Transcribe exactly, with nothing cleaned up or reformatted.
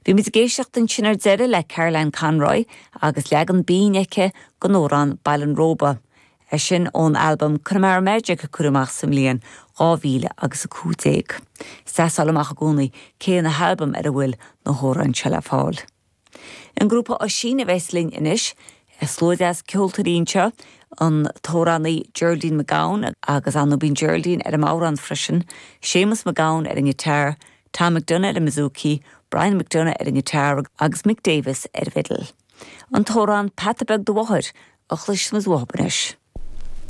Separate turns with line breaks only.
Bhí muid ag éisteacht ansin ar deireadh le Caroline Conroy agus leagan binn aici den amhrán Baile an Róba. É sin ón albam Connemara Magic a cuireadh amach sa mbliain dhá mhíle agus a cúig déag. Seáil amach i gcónaí cé na halbaim ar a bhfuil na hamhráin seo le fáil. An grúpa Oisín a bheas linn anois, slua deas ceoltóirí anseo an t-amhránaí Geraldine McGowan agus anú bíonn Geraldine ar an amhrán freisin, Seamus McGowan ar an ngiotár, Tom McDonough ar an mbouzouki, Brian McDonough ar an ngiotár agus Mick Davis ar an bhfidil. An t-amhrán Peata Beag do Mháthair a chloisfimid uathu anois.